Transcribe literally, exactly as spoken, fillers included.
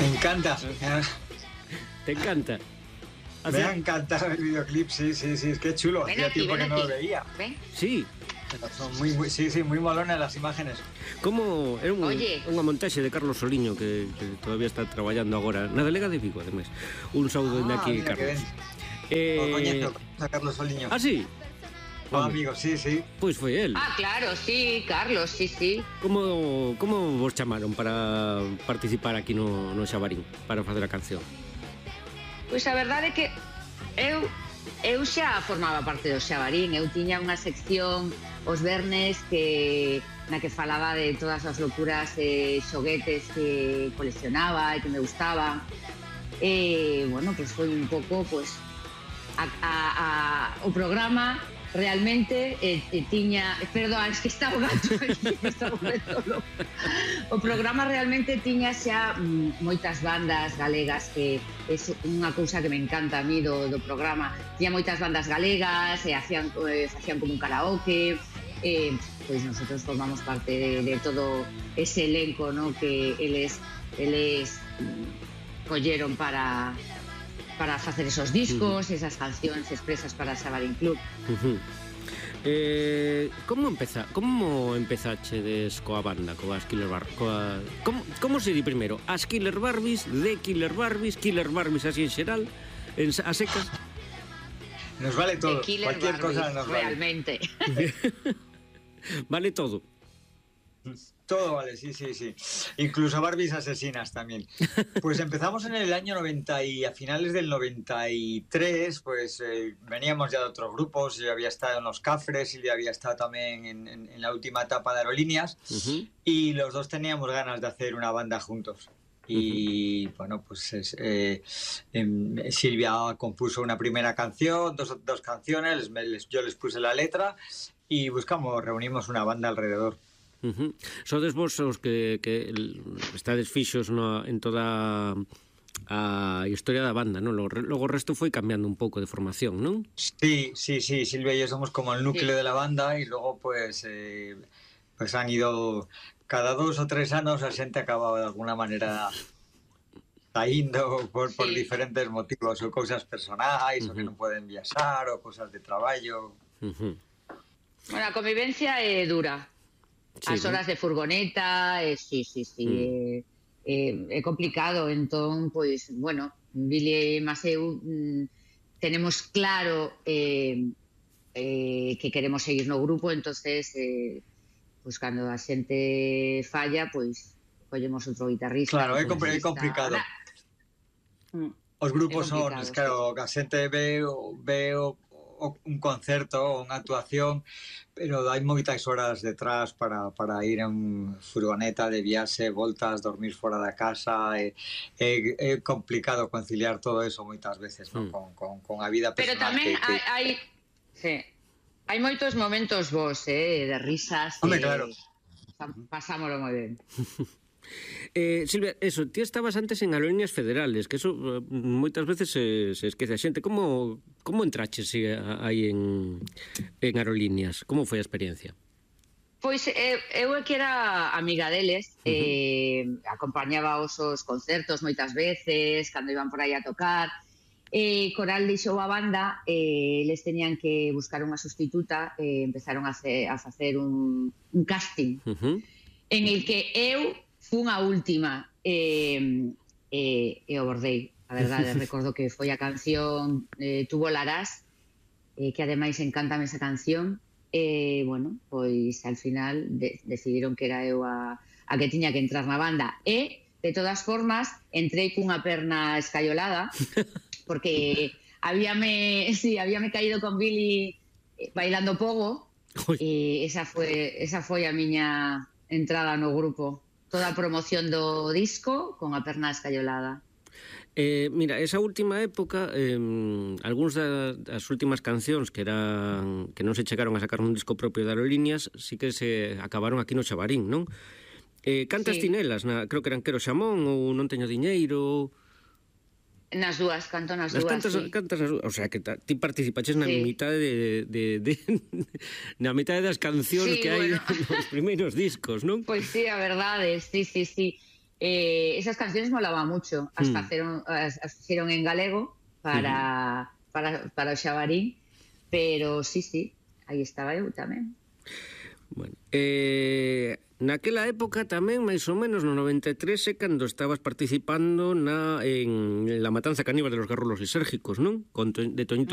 Me encanta. ¿Te encanta? Me ha encantado el videoclip, sí, sí, sí, es que chulo. Ven Hacía aquí, tiempo ven que no aquí. lo veía. Ven. Sí. Pero son muy, muy, sí, sí, muy molonas las imágenes. Como era un, Oye. unha montaxe de Carlos Soliño que, que todavía está traballando agora na Delega de Vigo, ademais. Un saúdo dende Ah, aquí, mira, que Carlos. ben. Eh... O coñezo a Carlos Soliño. Ah, sí? O amigo, sí, sí. Pois foi el. Ah, claro, sí, Carlos, sí, sí. Como, como vos chamaron para participar aquí no, no Xabarín, para facer a canción? Pois a verdade é que eu eu xa formaba parte do Xabarín. Eu tiña unha sección os vernes que na que falaba de todas as locuras e xoguetes que coleccionaba e que me gustaban. E, bueno, pois foi un pouco, pois, a, a, a, o programa realmente eh, eh, tiña... Perdón, es que está o gato aquí, está volvendo loco. O programa realmente tiña xa mm, moitas bandas galegas, que é unha cousa que me encanta a mí do, do programa. Tiña moitas bandas galegas, e hacían, eh, facían como un karaoke, eh, pois nosotros formamos parte de, de todo ese elenco, ¿no?, que eles, eles mm, colleron para... para facer esos discos, uh-huh. esas cancións expresas para Xabarín Club. Uh-huh. Eh, como empeza, como empezachedes coa banda, coas Killer Bar, coa como como se di primeiro? As Killer Barbies, de Killer Barbies, Killer Barbies así en xeral, en a secas. Nos vale todo. Cualquier Barbies, cosa nos realmente. Vale. Vale todo. Todo vale, sí, sí, sí. Incluso Barbies asesinas también. Pues empezamos en el año noventa y a finales del noventa y tres, pues eh, veníamos ya de otros grupos. Yo había estado en Los Cafres y había estado también en, en, en la última etapa de Aerolíneas. Uh-huh. Y los dos teníamos ganas de hacer una banda juntos. Y uh-huh. bueno, pues es, eh, eh, Silvia compuso una primera canción, dos, dos canciones, les, yo les puse la letra y buscamos, reunimos una banda alrededor. Uh-huh. Sodes vos os que, que estades fixos no, en toda a historia da banda, non? Logo, logo o resto foi cambiando un pouco de formación, non? Sí, sí, sí, Silvia y yo somos como el núcleo sí. de la banda y luego pues eh, pues han ido cada dos o tres anos a xente acababa de alguna manera saindo por, sí. por diferentes motivos ou cousas personais uh-huh. ou que non poden viaxar ou cousas de traballo. Uh-huh. Bueno, a convivencia é dura. Sí, as horas ¿no? de furgoneta, eh, sí, sí, sí, mm. eh, eh, é complicado, entón, pois, bueno, Billy e Maseu mm, tenemos claro eh, eh, que queremos seguir no grupo, entonces, eh, pois, cando a xente falla, pois, collemos outro guitarrista. Claro, é, compl- é complicado. Mm. Os grupos son, es claro, a xente ve, ve o, o, un concerto ou unha actuación, pero hai moitas horas detrás para, para ir en furgoneta de viaxe, voltas, dormir fora da casa, é, é, é complicado conciliar todo eso moitas veces, ¿no? mm. con, con, con a vida personal. Pero tamén que, que... hai, hai, sí, hai moitos momentos vos, eh, de risas. Hombre, eh, claro. Pasámoslo moi ben. Eh, Silvia, eso, ti estabas antes en Aerolíneas Federales, que eso moitas veces se, se esquece a xente. Como, como entraches aí en, en Aerolíneas? Como foi a experiencia? Pois eh, eu é que era amiga deles, uh-huh. eh, acompañaba os, os concertos moitas veces, cando iban por aí a tocar. Eh, Coral deixou a banda, eh, eles tenían que buscar unha sustituta, eh, empezaron a, hacer, a facer un, un casting, uh-huh. en el que eu fun a última e eh, eh, eh, o bordei, a verdade. Recordo que foi a canción eh, Tu volarás, eh, que ademais encántame esa canción, e, eh, bueno, pois al final de, decidiron que era eu a, a que tiña que entrar na banda, e de todas formas entrei cunha perna escaiolada porque habíame, sí, habíame caído con Billy bailando pogo. Uy. E esa foi, esa foi a miña entrada no grupo. Toda a promoción do disco con a perna escaiolada. Eh, mira, esa última época, eh, algúns das últimas cancións que eran que non se chegaron a sacar un disco propio de Aerolíneas, sí que se acabaron aquí no Xabarín, non? Eh, cantas sí. tinelas, na, creo que eran Quero Xamón ou Non teño diñeiro. Nas dúas, canto nas, nas dúas, cantas, sí. Cantas nas dúas, o sea, que ta, ti participaches na sí. mitad de, de, de, de na mitad das cancións sí, que hai bueno. nos primeiros discos, non? Pois sí, a verdade, sí, sí, sí. Eh, esas canciones molaban mucho, as, Mm. faceron, as, as fixeron en galego para, para, para o Xabarín, pero sí, sí, aí estaba eu tamén. Bueno, eh, naquela época tamén, máis ou menos, no noventa e tres, é cando estabas participando na, en La matanza caníbal de los garrulos lisérgicos, non? Con, to- de Toñito